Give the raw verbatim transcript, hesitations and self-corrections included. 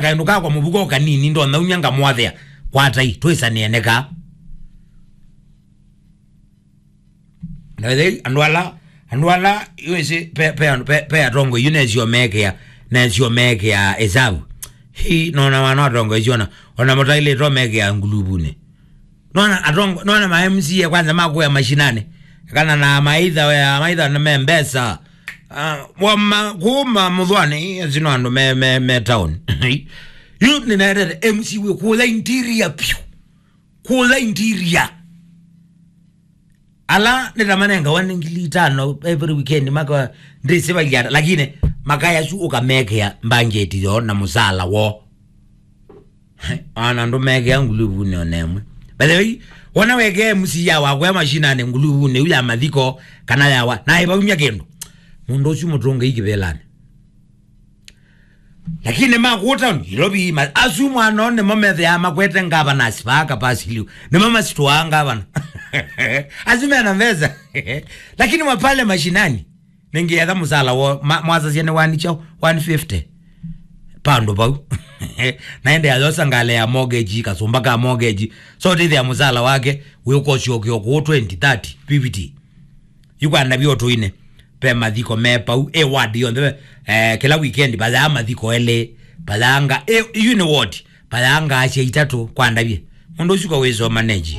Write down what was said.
kaĩndũ kakwa mũvuko kanini, ndonya umya ngamwathĩa. Kwatai, twĩsanĩe neka. Na ĩthei, andũ ala, andũ ala, yu ĩsĩ, pe, pe, pe, pe atongoi yu nesio mekĩa, nesio mekĩa ĩsavu. Hii, nona wana atongoi yu ona, ona mũtailĩtwe mekĩa nguluvunĩ. Nona atongo, nona ma M C A kwanza makuya mashinani. Kana na maitha, ya maitha na me mbesa. Ah, wa ma, kuma mũthwani, ĩĩ, ĩsĩ no andũ me, me, me town. Yu nĩnaetete M C A wĩ kũla interior piũ. Kũla interior. Ala nĩtamanengawa nĩ ngili itano every weekend, maka ndĩsĩvagia, lakini makaya su ũkamekea mbanjeti yo na mũsala wo. Ana andũ mekea nguluvunĩ ona ĩmwe. By the way, wona wekea M C A wakwa mashinani nguluvunĩ yu ya mathiko kana yawa, na ĩvaumya kĩndũ. Mũndũ ũsu mũtũnge ikĩvĩlanĩ. Lakini ma kũta Nairobi, ma, asu mwana nĩmo methĩaa makwete ngavana asivaa kapasiliu. Nĩmo masitũaa ngavana. Asu mena mbesa. Lakini wa pale mashinani, nĩngĩetha mũsala wo, ma, mwasasya nĩ one chao, one fifty. Pandu pau. Naende ayosa ngale ya mortgage, kasumba ka mortgage. So tithia mũsala wake, wĩũkosyoke okũũ twenty, thirty, fifty. Yu kwa ndavya ũtũinĩ, ve mathiko me pau, e ward yonthe, eh, kĩla weekend, vayaa mathiko elĩ, vayaanga, e, yu nĩ ward, vayaanga asya itatũ, kwa ndavye. Mũndũ ũsu kwa wĩsoma neji.